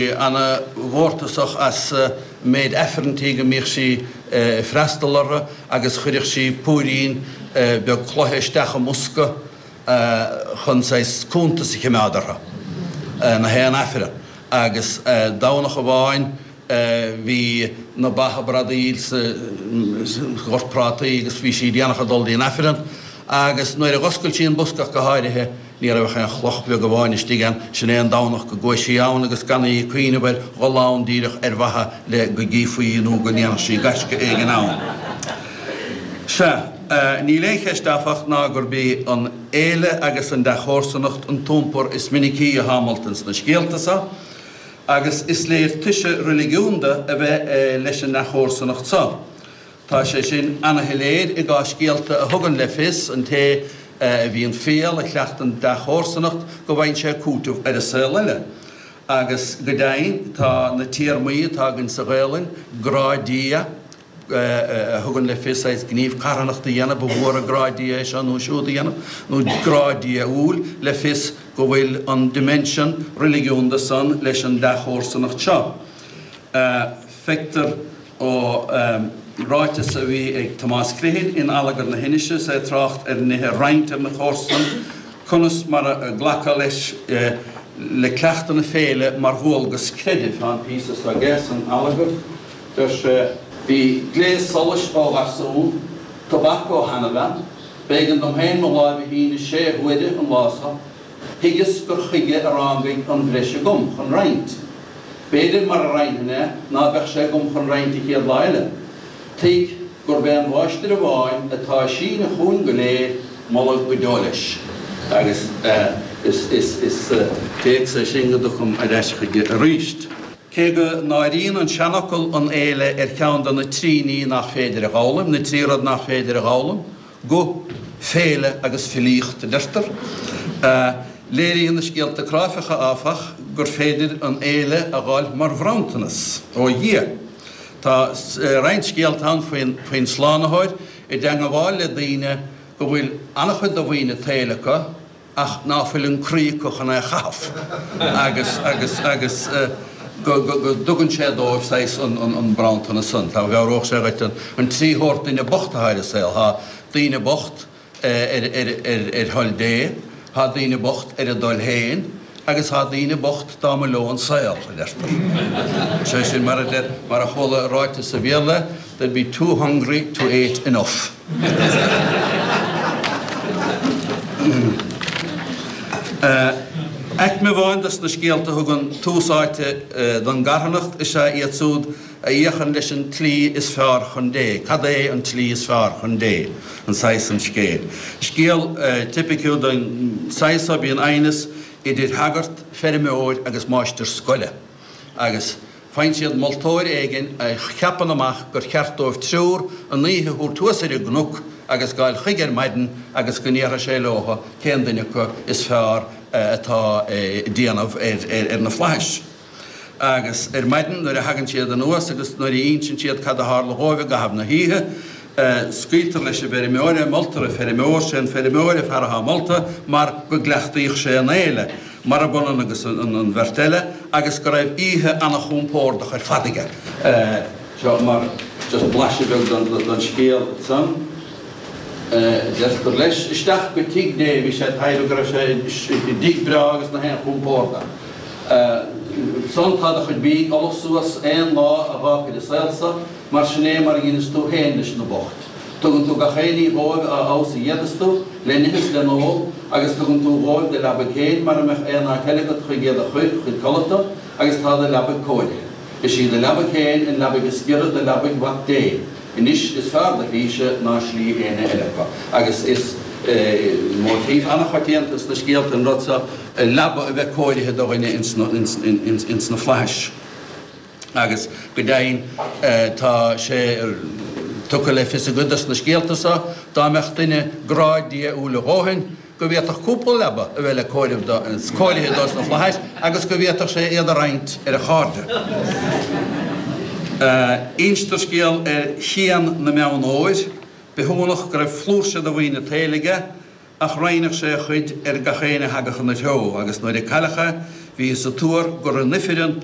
Ana-mhórtasach as an méid aifrinntí go mbíodh sí ag freastal orthu agus chuireadh sí púirín beag cloiche isteach i mbosca chun saghas cuntas a chimeád orthu, na haon aifreann. Agus Domhnach amháin bhí na ba ag bradaíl sa ghort prátaí agus bhí sí déanach ag dul dtí'n aifreann agus nuair a dh'oscail sí an bosca ach go háirithe, Ní raibh ach aon chloch bheag amháin istigh ann, sin é an Domhnach go gcuaigh sí ann agus gan í ag cuimhneamh ar dhul ann díreach ar mhaithe le go gcífí í nó go ndéanfadh sí gaisce éigin ann. Sea, níl aon cheist áfach ná gurb í an fhéile agus an dea-chomharsanacht an t-iompar is minicí atá molta ins na scéalta so, agus is léir toise reiligiúnda a bheith leis an ndea-chomharsanacht so. Tá sé sin ana-shoiléir i gcás scéalta a thugann le fios an té a bhíonn fial, a chleachtann dea-chomharsanacht, go bhfaigheann sé cúiteamh ar an saol eile. Agus go deimhin, tá na téarmaí atá againn sa Ghaelainn, grá Dia, a thugann le fios saghas gníomh carthanachta a dhéanamh, ba mhór an grá Dia é seo nó siúd a dhéanamh, nó grá Dia-úil, le fios go bhfuil an dimension reiligiúnda san leis an dea-chomharsanacht seo. Feictear ó ráiteas a bhí ag Tomás Criomhthain in Allagar na hInise is é ag trácht ar nithe a roinnt ar na comharsana, conas mar a glacadh leis le cleachtadh na féile mar dhualgas creidimh. Tá an píosa seo aige san Allagar. Deir sé. Bhí gléas solais ó gharsún, tobac ó sheanabhean, b'éigean dom féin mo láimh a shíneadh sé huaire an lá so, Thuigeas gur chuige a rángaig an bhreis agam chun roinnt. B'fhéidir mara roinnfinn é ná beadh sé agam chun roinnt an chéad lá eile. Tuig gurb é an Mháistir amháin atá ag síneadh chugainn go léir moladh go deo leis. Agus is téacs é sin go dtiocfam ar ais chuige aríst. Cé go n-áiríonn an seanfhocal an fhéile ar cheann de na trí ní nach féidir a dh'fhoghlaim, na trí rud nach féidir a dh'fhoghlaim, guth, féile agus filíocht, a deirtear. Léiríonn na scéalta cráifeacha, áfach, gur féidir an fhéile a dh'fháil mar bhronntanas ó Dhia. Tá roinnt scéalta ann faoin Slánaitheoir i dteangabháil le daoine go bhfuil an-chuid de mhaoin an tsaoil acu, ach ná fuil an croí acu chun é a chaitheamh agus, agus, agus go, go, go dtugann sé dóibh saghas an, an, an bronntanas san. Tá, mheabhródh sé dhuit an, an trí shórt duine bocht atá ar an saol. Tá daoine bocht ar, ar, ar, ar thoil Dé, tá daoine bocht ar a dtoil féin agus tá daoine bocht dá mba leo an saol, a deirtear. Sé sin mar a deir, mar a chuala ráite sa Bhéarla, they'd be too hungry to ate enough. Aicme amháin dos na scéalta a thugann tús áite don gcarthanacht is ea iad siúd a fhéachann leis an tslí is fearr chun Dé. Cad é an tslí is fearr chun Dé? An saghas san scéil. Scéal tipiciúil den saghas so bíonn aighneas idir shagart, feirmeoir agus máistir scoile agus. Faigheann siad moltóir éigin a cheapann amach gur cheart dóibh triúr an oíche a thabhairt thuas ar an gcnoc agus gabháil chuige ar maidin agus go ndéarfaidh sé leotha cén duine acu is fearr atá ag déanamh ar na flaithis. Agus ar maidin nuair a thagann siad anuas agus nuair a ínseann siad cad a tharla dhóibh i gcaitheamh na hoíche, scaoiltear leis an bhfeirmeoir é, moltar an feirmeoir, sé an feirmeoir an fear atá molta mar go gcleachtaíodh sé an fhéile. Marab ionann agus an bheirt eile, agus go raibh oíche ana-chompordach ar fad aige. Seo mar just blaiseadh beag den scéal san. Deirtear leis, isteach go tigh Dé, bhí sé ag taibhreamh go raibh sé i dtigh breá agus nach aon chompord ann. San tá do chuid bídh ullamh suas aon lá a dh'fhágfair an saol so, mar sin é mar a dheineas tú féin leis na boicht. Tugann tú gach aon ní dhóibh a fheabhas a d'fhéadas tú, le n-ithe is le n-ól, agus tugann tú dhóibh do leabaidh féin mara mbeadh aon áit eile agat chuig iad a chuir chun codlata, agus tá do leabaidh cóirithe. Is í do leabaidh féin an leabaidh is giorra do leabaidh Mhac Dé. Anois is fearr do shlíse ná slí éinne eile acu. Agus is móitíf an-choitianta sna scéalta an rud so, leaba a bheith cóirithe do dhuine ins na flaithis. Agus go deimhin tá sé tugtha le fios i gcuid dos na scéalta so, dá mbeadh duine grá Dia-úil a dhóthain, go bhféadfadh cúpla leaba a bheith le comhaireamh do, cóirithe dó sna flaithis agus go bhféadfadh sé iad a roinnt ar a chairde. Instear scéal ar Chian na mBeann Óir, bithiúnach go raibh flúirse de mhaoin an tsaoil aige, Ach roinneadh sé a chuid ar gach éinne a thagadh ina threo, agus nuair a cailleadh é, bhíothas ag tuar gur in ifreann.